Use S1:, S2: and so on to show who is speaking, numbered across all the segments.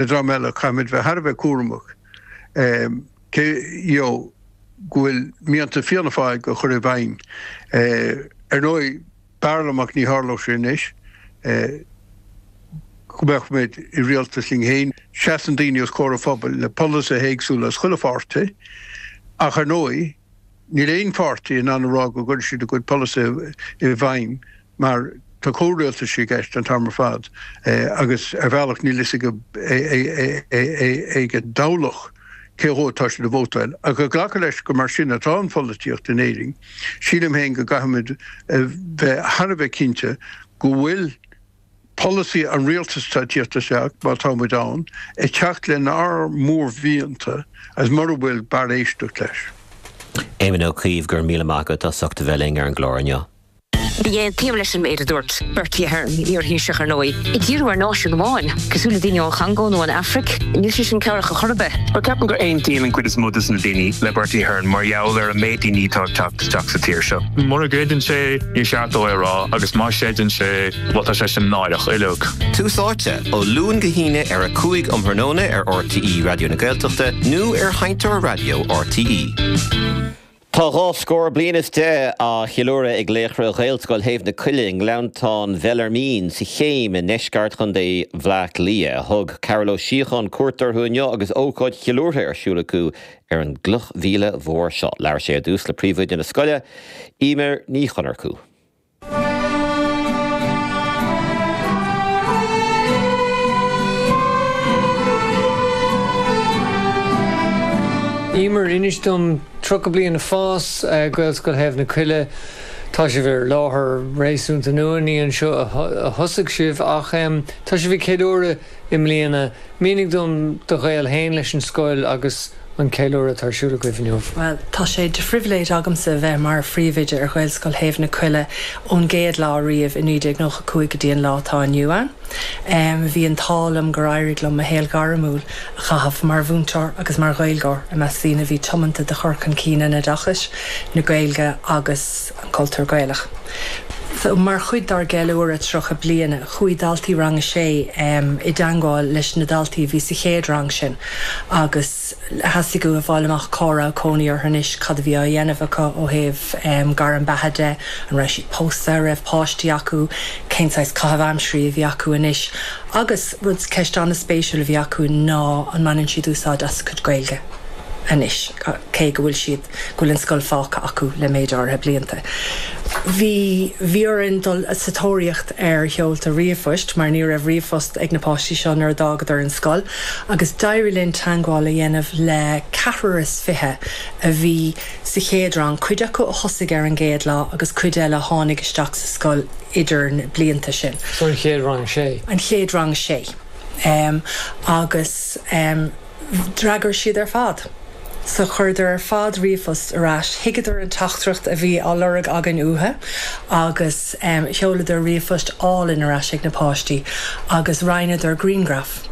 S1: Le dream eile, caithfimid bheith thar a bheith cúramach cé you know go bhfuil mianta Fianna Fáil á chur i bhfeidhm. Ar ndóigh, b'fhearr liom ach ní tharlódh sé anois, go mbeadh muid i rialtas linn féin. Seasann daoine os comhair an phobail le polasaithe éagsúla as chuile pháirtí ach ar ndóigh, níl aon pháirtí in ann a rá go gcuirfidh siad a gcuid polasaithe i bhfeidhm mar tá comhrialtais i gceist an t-am ar fad agus ar bhealach níl fhios ag an dtoghlach cé dhó atá siad ag vótáil. Ach ag glacadh leis gur mar sin atá an pholaitíocht in Éirinn, sílim féin go gcaithfimid bheith thar a bheith cinnte go bhfuil polasaí an rialtais atá ag tíocht isteach, má tá muid ann, ag teacht lenár mórmhianta agus mura bhfuil, b'fhearr éisteacht leis.
S2: Éamon Ó Cuív, go raibh míle maith agat as ucht a bheith linn ar an gclár inniu.
S3: Ní aontaím leis an méid a dúirt Bertie Ahern, iar-Thaoiseach ar ndóigh, ag díriú ar náisiún amháin, cosúil le daoine ón Chongó nó an Afraic, níl sé sin cabhrach a chor ar bith.
S4: Bhuel, ceapaim gur aontaíonn an cuid is mó de na daoine le Bertie Ahern mar gheall ar an méid daoine atá ag teacht isteach sa tír seo. Mura gcreideann sé, níor cheart dó é a rá, agus má chreideann sé, bhuel tá sé sin náireach uilig.
S2: Tús Áite, ó Luan go hAoine ar 5 um thráthnóna ar RTÉ Raidió na Gaeltachta nó ar Sheinnteoir Raidió RTÉ. Tá 12 scór bliain is á cheiliúradh ag laochra Ghaelscoil Thaobh na Coille i nGleanntán Bheallairmín sa Chéim i ndeisceart Chontae Bhleá Cliath. Thug Carol Ó Síocháin cuairt orthu inniu agus ócáid cheiliúrtha ar siúl acu ar an gcloch mhíle mhór seo. Labhair sé ar dtús le príomhoide na scoile, Eimear Ní Chonchúir.
S5: Eimear, inis dom, 30 bliain ag fás, Gaelscoil Thaobh na Coille, tá sibh ar láthair réasúnta nua, ní anseo a thosaigh sibh ach tá sibh ag ceiliúradh i mbliana. Mínigh dom do ghaol féin leis an scoil agus an ceiliúradh atá ar siúl agaibh inniu.
S6: Bhuel, tá sé de phribhléid agamsa a bheith mar phríomhoide ar Ghaelscoil Thaobh na Coille ón gcéad lá riamh i 1995 go dtí an lá atá inniu ann. Bhí an t-ádh liom gur éirigh liom mo shaol gairmiúil a chaitheamh mar mhúinteoir agus mar Ghaeilgeoir i measc daoine a bhí tiomanta do chur chun cinn an oideachais, na Gaeilge agus an cultúr Gaelach. So, mar chuid dár gceiliúradh 30 bliana, chuaigh daltaí Rang a Sé i dteangmháil leis na daltaí a bhí sa chéad rang sin agus theastaigh uathu fáil amach cá raibh cónaí orthu anois, cad a bhí á dhéanamh acu ó thaobh gairm beatha de, an raibh siad pósta, an raibh páistí acu, cén saghas caitheamh aimsirí a bhí acu anois agus rud, ceist an-spéisiúil a bhí acu ná an mbaineann siad úsáid as a gcuid Gaeilge anois cé go bhfuil siad. go bhfuil an scoil fágtha acu le méid áirithe blianta. Bhí bhí orainn dul sa tóraíocht ar sheolta ríomhphoist mar ní raibh ríomhphost ag na páistí seo nuair a d'fhágadar an scoil agus d'éirigh linn teangmháil a dhéanamh le ceathrar is fiche a bhí sa chéad rang, cuid acu a thosaigh ar an gcéad lá agus cuid eile a tháinig isteach sa scoil idir na blianta sin.
S5: So an chéad rang sé.
S6: An chéad rang sé. Agus. D'fhreagair siad ar fad. So chuireadar ar fad ríomhphost ar ais. Thuigeadar an teachtaireacht a bhí á lorg againn uathu agus sheoladar ríomhphost álainn ar ais ag na páistí agus roinneadar grianghraf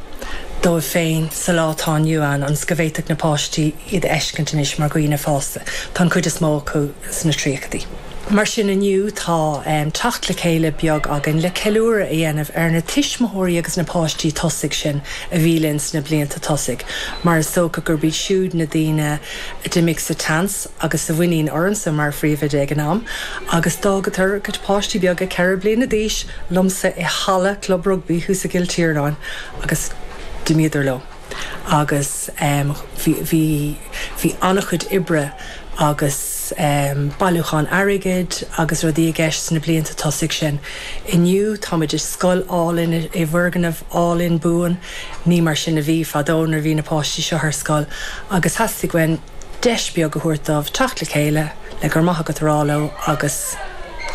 S6: dóibh féin sa lá atá inniu ann ionas go bhféadfadh na páistí iad a fheiscint anois mar dhaoine fásta. Tá an chuid is mó acu sna tríochaidí. Mar sin inniu tá teacht le chéile beag againn le ceiliúradh a dhéanamh ar na tuismitheoirí agus na páistí tosaigh sin a bhí linn sna blianta tosaigh mar is dócha gurb iad siúd na daoine a d'imigh sa tseans agus sa mhuinín ormsa mar phríomhoide ag an am agus d'fhágadar a gcuid páistí beaga 4 bliana d'aois liomsa i halla Club Rugbaí thuas i gCill Tiarnáin agus d'imíodar leo. agus bhí bhí bhí an-chuid oibre agus bailiúchán airgid agus rudaí i gceist sna blianta tosaigh sin. Inniu táimid i scoil álainn i bhfoirgneamh álainn buan, ní mar sin a bhí fadó nuair a bhí na páistí seo ar scoil agus theastaigh uainn deis beag a thabhairt dóibh teacht le chéile le go raibh maith agat a rá leo agus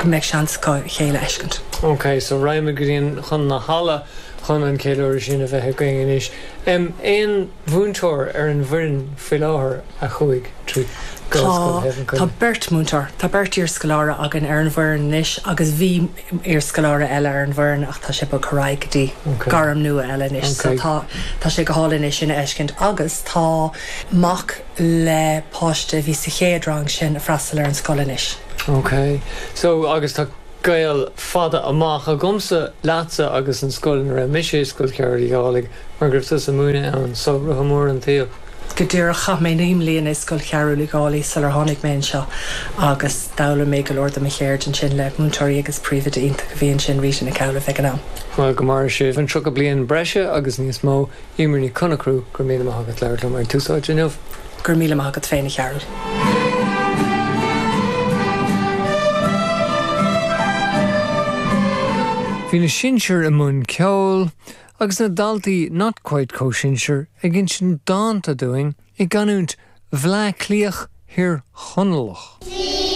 S6: go mbeadh seans acu a chéile a fheiscint.
S5: Ok, so raghaimid go dtí an chun na halla chun an ceiliúradh sin a bheith againn anois. Aon mhúinteoir ar an bhfoireann faoi láthair a chuaigh trí Gaelscoil Thaobh na
S6: Tá
S5: Coille?
S6: beirt mhúinteoir, tá beirt iarscoláire againn ar an bhfoireann anois agus bhí iarscoláire eile ar an bhfoireann ach tá sé bogtha ar aghaidh go dtí gairm nua eile anois so tá tá sé go hálainn é sin a fheiscint agus tá mac le páiste a bhí sa chéad rang sin ag freastal ar an scoil anois.
S5: Ok. So agus tá. Gaol fada amach agamsa leatsa agus an scoil ina raibh mise, Scoil Chearúil Uí Dhálaigh, mar go raibh tusa ag múineadh ann, so rotha mór an tsaoil.
S6: Go díreach, chaith mé 9 mbliana i Scoil Chearúil Uí Dhálaigh sular tháinig mé anseo agus d'fhoghlaim mé go leor de mo cheird ansin le múinteoirí agus príomhoide iontach a bhí ansin, Rita Nic Amhlaoibh, ag an am.
S5: Bhuel, go maire sibh an 30 bliain breise agus níos mó. Eimear Ní Chonchú, go raibh míle maith agat labhairt liom ar Tús Áite inniu.
S6: Go raibh míle maith agat féin, a Chearúil.
S5: Bhí na sinsir i mbun ceoil agus na daltaí not quite chomh sinsir ag insint dánta dúinn i gcanúint Bhleá Cliath Thír Chonallach.